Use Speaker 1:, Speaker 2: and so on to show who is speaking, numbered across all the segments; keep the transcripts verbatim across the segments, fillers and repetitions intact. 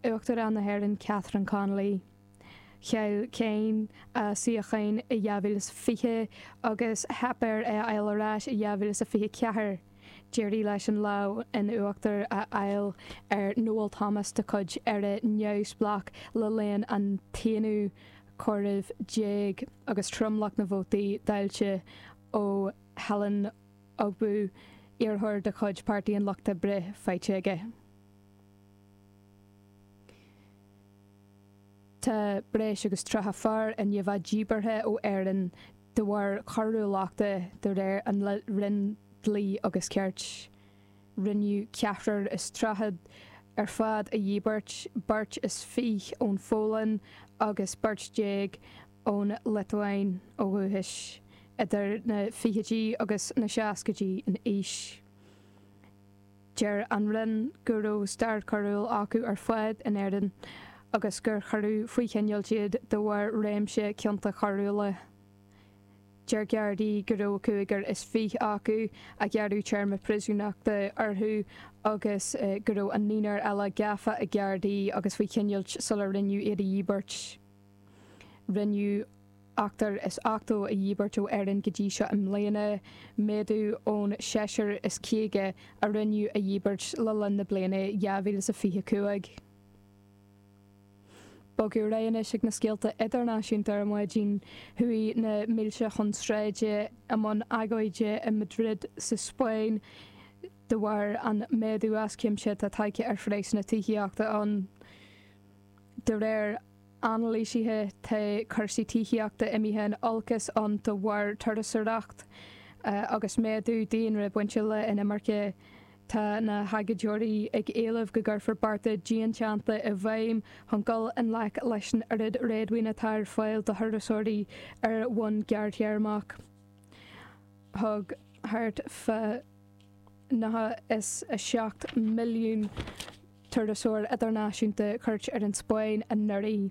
Speaker 1: Uachtarán na hÉireann Catherine Connolly. Chaill Kyne a suíochán i dhá mhíle is fiche agus theip air é a fháil ar ais i dhá mhíle is a fiche ceathair. D'éirigh leis an lámh in uachtar a fháil ar Noel Thomas de chuid Éire Neamhspleách le linn an t-aonú comhaireamh déag agus tromlach na vótaí dáilte ó Helen Ogbu, iarrthóir de chuid Páirtí an Lucht Oibre, faighte aige. Tá breis agus tríocha fear i ndiaidh a bheith díbeartha ó Éirinn de bharr coiriúlachta, de réir an Roinn Dlí agus Cirt. Rinneadh ceathrar is tríocha ar fad a dhíbirt, beirt is fiche ón Pholainn agus beirt déag ón Liotuáin ó dhúchas, idir na fichidí agus na seascaidí in aois. Deir an Roinn go raibh stair choiriúil acu ar fad in Éirinn agus gur cuireadh faoi choinneáil iad de bharr réimse cionta coiriúla. Deir Gardaí go raibh cúigear is fiche acu a gearradh téarma príosúnachta orthu agus go raibh an naonúr eile gafa ag Gardaí agus faoi choinneáil sular rinneadh iad a dhíbirt. Rinneadh ochtar is ochtó a dhíbirt ó Éirinn go dtí seo i mbliana, méadú ón seisear is caoga a rinneadh a dhíbirt le linn na bliana dhá mhíle is a fiche cúig. Bogadh ar aghaidh anois ag na scéalta idirnáisiúnta ar maidin. Chuaigh na mílte chun sráide i mbun agóide i Madrid sa Spáinn de bharr an méadú as cuimse atá tagtha ar phraghsanna tithíochta ann. De réir anailísithe, tá cúrsaí tithíochta imithe in olcas ann de bharr turasóireacht agus méadú daonra bainte le inimirce. Tá na hagóideoirí ag éileamh go gcuirfear bearta dianteannta i bhfeidhm chun dul i ngleic leis an oiread réadmhaoine atá ar fáil do thurasóirí ar bhonn gearrthéarmach. Thug thart fá nócha is a seacht milliún turasóir idirnáisiúnta cuairt ar an Spáinn anuraidh.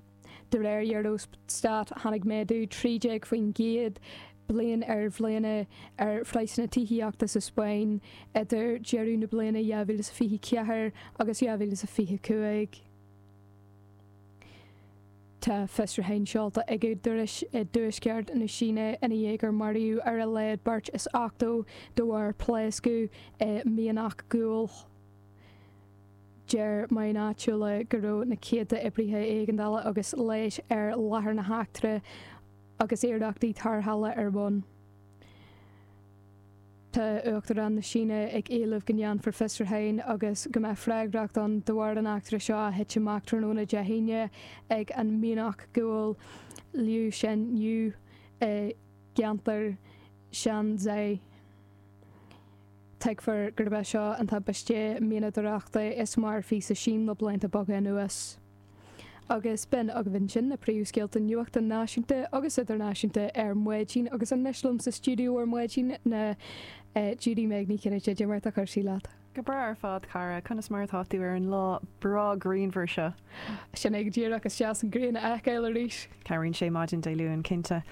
Speaker 1: De réir Eurostat, tháinig méadú trí déag faoin gcéad bliain ar bhliana ar phraghsanna tithíochta sa Spáinn idir deireadh na bliana dhá mhíle is fiche ceathair agus dhá mhíle is fiche cúig. Tá fiosrúchán seolta ag údaráis i dtuaisceart na Síne ina dhiaidh gur maraíodh ar a laghad beirt is ochtó de bharr pléascadh i mianach guail. Deir meáin áitiúla go raibh na céadta oibrithe éigeandála agus leighis ar láthair na heachtra agus iarrachtaí tarrthála ar bun. Tá Uachtarán na Síne ag éileamh go ndéanfar fiosrúchán agus go mbeidh freagracht ann de bharr an eachtra seo a thit amach tráthnóna Dé hAoine ag an mianach guail Liushenyu i gceantar Shanxi. Tuigtear gurb é seo an tubaiste mianadóireachta is marfaí sa Sín le blianta beaga anuas. Agus b'in agaibh ansin na príomhscéalta nuachta náisiúnta agus idirnáisiúnta ar maidin agus anois liom sa stiúideo ar maidin ná Judy Meg Ní Chinnéide. Cad é mar atá cúrsaí leat?
Speaker 2: Go breá ar fad, cara. Conas mar atá tú ar an lá breá grianmhar seo?
Speaker 1: Sin é go díreach, is deas an ghrian a fheiceáil arís.
Speaker 2: Cabhraíonn sé maidin Dé Luain, cinnte.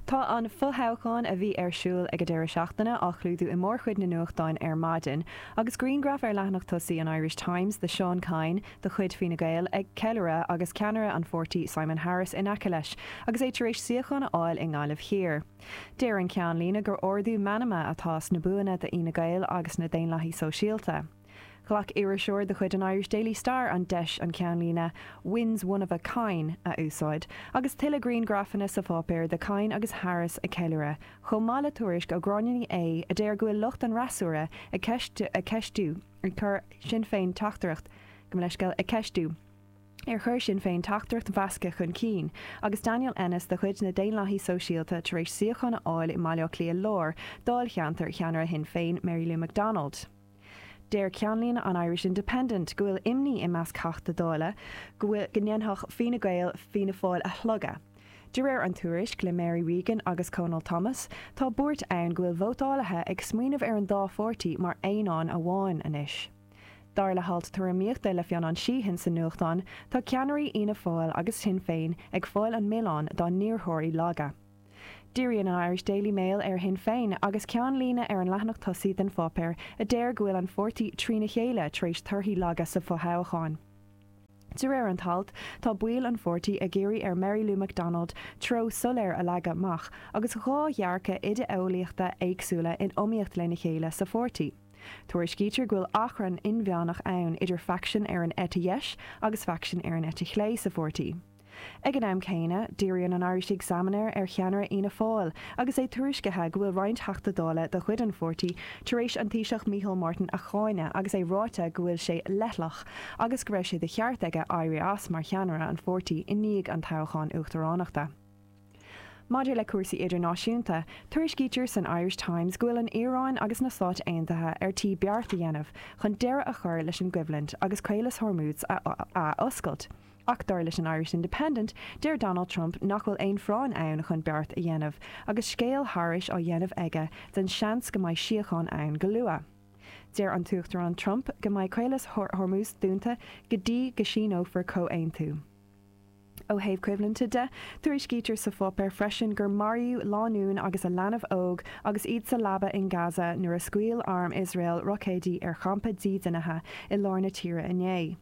Speaker 2: Tá an fothoghchán a bhí ar siúl ag an deireadh seachtaine á chlúdú i mórchuid na nuachtáin ar maidin, agus grianghraf ar leathanach tosaigh an Irish Times de Seán Kyne de chuid Fine Gael ag ceiliúradh agus ceannaire an pháirtí Simon Harris in aice leis agus é tar éis suíochán a fháil i nGaillimh Thiar. Deir an ceannlíne gur ardú meanma atá sna buanna d'Fhine Gael agus na Daonlathaigh Sóisialta. Ghlac iriseoir de chuid an Irish Daily Star an deis an ceannlíne 'Wins one of a Kyne' a úsáid, agus tuilleadh grianghrafanna sa pháipéar de Kyne agus Harris ag ceiliúradh, chomh maith le tuairisc ó Ghráinne Ní Aodha a deir go bhfuil lucht an fhreasúra ag ceistiú ar chuir Sinn Féin teachtaireacht, gabh mo leithscéal, ag ceistiú ar chuir Sinn Féin teachtaireacht mheasctha chun cinn, agus Daniel Ennis de chuid na Daonlathaí Sóisialta tar éis suíochán a fháil i mBaile Átha Cliath Láir, dáilcheantar cheannaire Shinn Féin, Mary Lou McDonald. Deir ceannlíne an Irish Independent go bhfuil imní i measc Theachta Dála go bhfuil go ndéanfadh Fine Gael Fianna Fáil a shlogadh. De réir an tuairisc le Mary Regan agus Conal Thomas, tá buairt ann go bhfuil vótálaithe ag smaoineamh ar an dá pháirtí mar aonán amháin anois. Dar le halt tuairimíochta le Fionán Sheehan sa nuachtán, tá ceannairí Fhianna Fáil agus Shinn Féin ag fáil an milleán dá n-iarrthóirí laga. Díríonn an Irish Daily Mail ar Shinn Féin agus ceannlíne ar an leathanach tosaigh den pháipéar a deir go bhfuil an pháirtí trína chéile tar éis torthaí laga sa fothoghchán. De réir an t-alt, tá baill an pháirtí ag iarraidh ar Mary Lou McDonald treo soiléir a leagadh amach agus dhá dhearcadh idé-eolaíochta éagsúla in iomaíocht lena chéile sa pháirtí. Tuairiscítear go bhfuil achrann inmheánach ann idir faicsean ar an eite dheis agus faicsean ar an eite chlé sa pháirtí. Ag an am céanna, díríonn an Irish Examiner ar cheannaire Fhianna Fáil agus é tuairiscithe go bhfuil roinnt Teachtaí Dála de chuid an pháirtí tar éis an Taoiseach Micheál Martin a cháineadh agus é ráite go bhfuil sé leithleach agus go raibh sé de cheart aige éirí as mar cheannaire an pháirtí i ndiaidh an toghcháin uachtaránachta. Maidir le cúrsaí idirnáisiúnta, tuairiscítear san Irish Times go bhfuil an Iaráin agus na Stáit Aontaithe ar tí beart a dhéanamh chun deireadh a chur leis an gcoimhlint agus Caolas Hormuz a, a oscailt. Ach dar leis an Irish Independent, deir Donald Trump nach bhfuil aon phráinn ann chun beart a dhéanamh, agus scéal thairis á dhéanamh aige den seans go mbeidh síocháin ann go luath. Deir an tUachtarán Trump go mbeidh Caolas Hormuz dúnta go dtí go síneofar comhaontú. Ó thaobh coimhlinte de, tuairiscítear sa pháipéar freisin gur maraíodh lánúin agus a leanbh óg agus iad sa leaba in Gaza nuair a scaoil arm Iosrael roicéidí ar champa dídeanaithe i lár na tíre inné.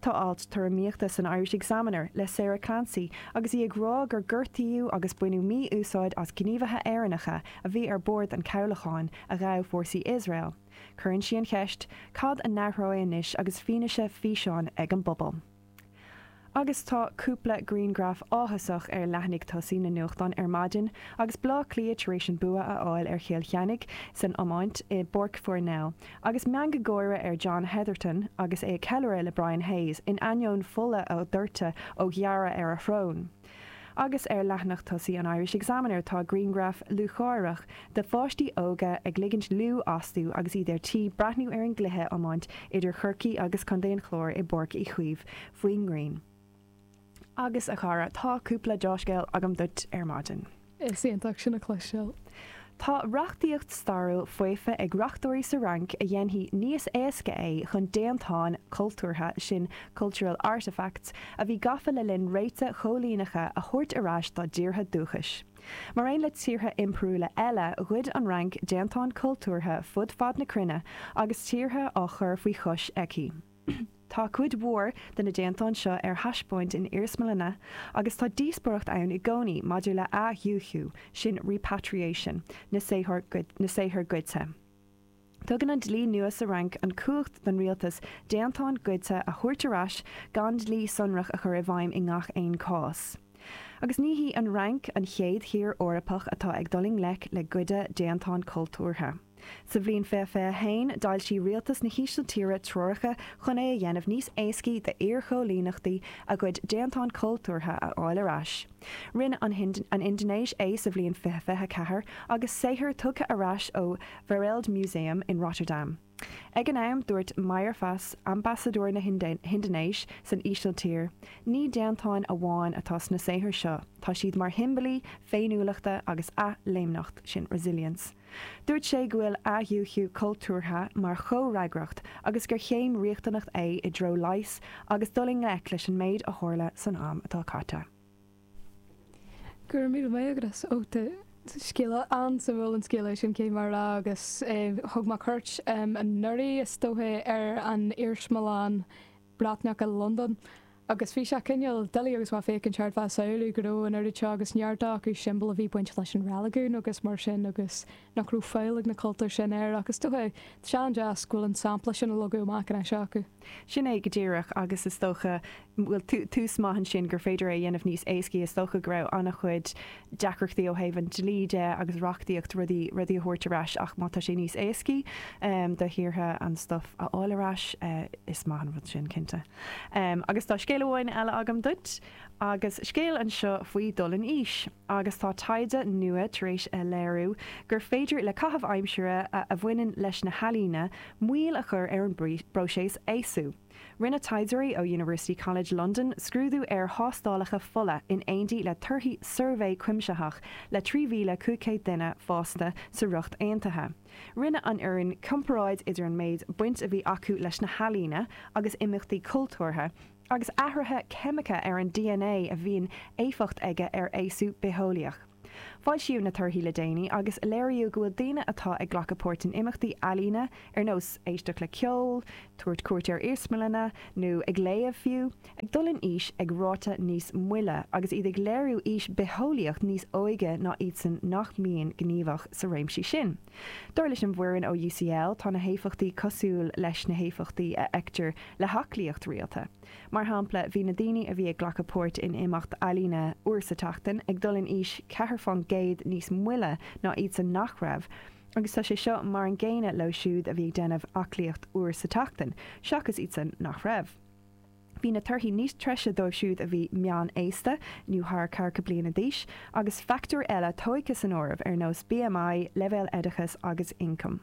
Speaker 2: Tá alt tuairimíochta san Irish Examiner le Sarah Clancy agus í ag rá gur gortaíodh agus baineadh mí-úsáid as gníomhaithe Éireannacha a bhí ar bord an chabhlacháin a ghabh fórsaí Iosrael. Cuireann sí an cheist, cad a athróidh anois agus fianaise físeáin ag an bpobal. Agus tá cúpla grianghraf áthasach ar leathanaigh tosaigh na nuachtán ar maidin, agus Bleá Cliath tar éis an bua a fháil ar Chill Chainnigh san iomáint i bPáirc Pharnell, agus meangadh gáire ar John Hetherton agus é ag ceiliúradh le Brian Hayes in ainneoin fola a doirteadh ó ghearradh ar a shrón. Agus ar leathanach tosaigh an Irish Examiner tá grianghraf lúcháireach de pháistí óga ag ligint liú astu agus iad ar tí breathnú ar an gcluiche iomáint idir Chorcaí agus Contae an Chláir i bPáirc Uí Chaoimh faoin ngrian. Agus a chara, tá cúpla dea-scéal agam duit ar maidin.
Speaker 1: Is iontach sin a chloisteáil.
Speaker 2: Tá reachtaíocht stairiúil faofa ag reachtóirí sa Fhrainc a dhéanfaidh níos éasca é chun déantáin cultúrtha, sin cultural artefacts, a bhí gafa le linn réite choilíneacha a thabhairt ar ais dá dtíortha dúchais. Mar aon le tíortha impiriúla eile, ghoid an Fhrainc déantáin cultúrtha fud fad na cruinne agus tíortha á chur faoi chois aici. Tá cuid mhór de na déantáin seo ar thaispeáint in iarsmalanna agus tá díospóireacht ann i gcónaí maidir le athdhúichiú, sin repatriation, na saothar na saothar goidte. Tugann an dlí nua sa Fhrainc an chumhacht don rialtas déantáin goidte a thabhairt ar ais gan dlí sonrach a chur i bhfeidhm i ngach aon chás. Agus ní hí an Fhrainc an chéad thír Eorpach atá ag dul i ngleic le goideadh déantán cultúrtha. Sa bhliain fiche fiche a haon, d'fhoilsigh rialtas na hÍsiltíre treoracha chun é a dhéanamh níos éascaí d'iarchoilíneachtaí a gcuid déantán cultúrtha a fháil ar ais. Rinne an an Indinéis é sa bhliain fiche fiche ceathair agus saothar tugtha ar ais ó Wereldmuseum in Rotterdam. Ag an am, dúirt Mayerfas, ambasadóir na hIndinéis san Ísiltír, ní déantáin amháin atá sna saothair seo, tá siad mar shiombailí féiniúlachta agus athléimneacht, sin resilience. Dúirt sé go bhfuil athdhúichiú cultúrtha mar chomhfhreagracht agus gur chéim riachtanach é i dtreo leigheas agus dul i ngleic leis an méid a tharla san am atá caite.
Speaker 1: Go raibh míle maith agat as ucht scéal an-suimiúil an scéal sin cé mar rá agus thug mé cuairt anuraidh is dócha ar an iarsmalann Breatnach i Londain agus bhí sé cineál doiligh agus mé féachaint thart bheith samhlú go raibh an oiread seo agus neart acu siombail a bhí bainte leis an reiligiún agus mar sin agus nach raibh fáil ag na cultúir sin air agus is dócha tá sé an-deas go bhfuil an sampla sin a leagadh amach anois acu.
Speaker 2: Sin é go díreach agus is dócha bhfuil tús maith ansin gur féidir é a dhéanamh níos éascaí is dócha go raibh an-chuid deacrachtaí ó thaobh an dlí de agus reachtaíocht rudaí rudaí a thabhairt ar ais ach má tá sé níos éascaí um, do thíortha an stuff a fháil ar ais uh, is maith an rud sin cinnte. Um, agus tá scéal amháin eile agam duit agus scéal anseo faoi dul in aois agus tá taighde nua tar éis a léiriú gur féidir le caitheamh aimsire a, a bhaineann leis na healaíona moill a chur ar an bpróiseas aosú. Rinne taighdeoirí ó University College London scrúdú ar thástálacha fola in éindí le torthaí suirbhé cuimsitheach le trí mhíle cúig chéad duine fásta sa Ríocht Aontaithe. Rinne an fhoireann comparáid idir an méid baint a bhí acu leis na healaíona agus imeachtaí cultúrtha, agus athruithe ceimice ar an D N A a bhíonn éifeacht aige ar aosú bitheolaíoch. Foilsíodh na torthaí le déanaí agus léiríodh go bhfuil daoine atá ag glacadh páirt in imeachtaí ealaíne ar nós éisteacht le ceol, tabhairt cuairt ar iarsmalanna nó ag léamh fiú, ag dul in aois ag ráta níos moille agus iad ag léiriú aois bitheolaíoch níos óige ná iadsan nach mbíonn gníomhach sa réimsí sin. Dar leis an bhfoireann ó UCL tá na héifeachtaí cosúil leis na héifeachtaí a fheictear le haclaíocht rialta. Mar shampla, bhí na daoine a bhí ag glacadh páirt in imeacht ealaíne uair sa tseachtain ag dul in aois ceathair faoin gcéad níos moille ná iadsan nach raibh, agus tá sé seo mar an gcéanna leo siúd a bhí ag déanamh aclaíocht uair sa tseachtain, seachas iadsan nach raibh. Bhí na torthaí níos treise dóibh siúd a bhí meánaosta nó thar ceathracha bliana d'aois, agus factóir eile tógtha san áireamh ar nós BMI, leibhéal oideachais agus ioncam.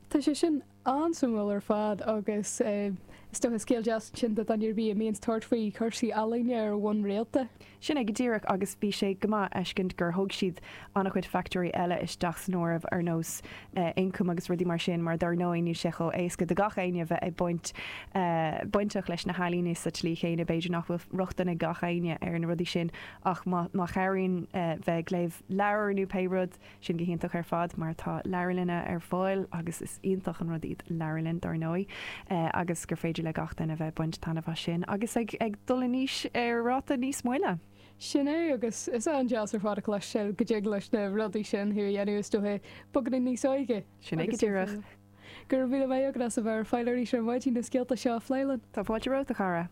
Speaker 1: Tá sé sin an-suimiúil ar fad agus is dócha scéal deas sin do dhuine ar bith a mbíonns tabhairt faoi chúrsaí ealaíne ar bhonn rialta.
Speaker 2: Sin é go díreach agus bhí sé go maith a fheiscint gur thóg siad an-chuid factóirí eile isteach san áireamh ar nós ioncam agus rudaí mar sin mar dar ndóigh níl sé chomh éasca do gach éinne bheith ag baint bainteach leis na healaíona sa tslí chéanna b'fhéidir nach bhfuil rochtain ag gach éinne ar na rudaí sin ach má má chabhraíonn bheith ag léamh leabhar nó pé rud sin go hiontach ar fad mar tá leabharlanna ar fáil agus is iontach an rud iad leabharlann dar ndóigh agus gur féidir le gach duine bheith ag baint taitneamh as sin agus ag ag dul in aois ar ráta níos moille.
Speaker 1: Sin é agus is an-deas ar fad a chloisteáil go dtig leis na rudaí sin thú a dhéanamh is dóiche beagáinín níos óige.
Speaker 2: Sin é go díreach.
Speaker 1: Go raibh míle maith agat as a bheith ar fáil arís ar maidin na scéalta seo a phlé linn.
Speaker 2: Tá fáilte romhat a chara.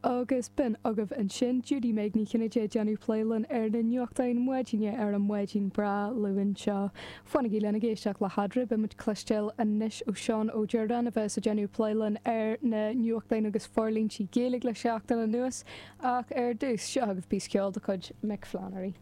Speaker 1: Agus b'in agaibh ansin Judy Meg Ní Chinnéide ag déanamh plé linn ar na nuachtáin maidine ar an maidin breá Luain seo. Fanaigí linn ag éisteacht le hEadra, beidh muid ag cloisteáil anois ó Seán Ó Direáin a bheas ag déanamh plé linn ar na nuachtáin agus forlíontaí Gaeilge le seachtain anuas ach ar dtús seo agaibh píosa ceoil de chuid Mick Flannery.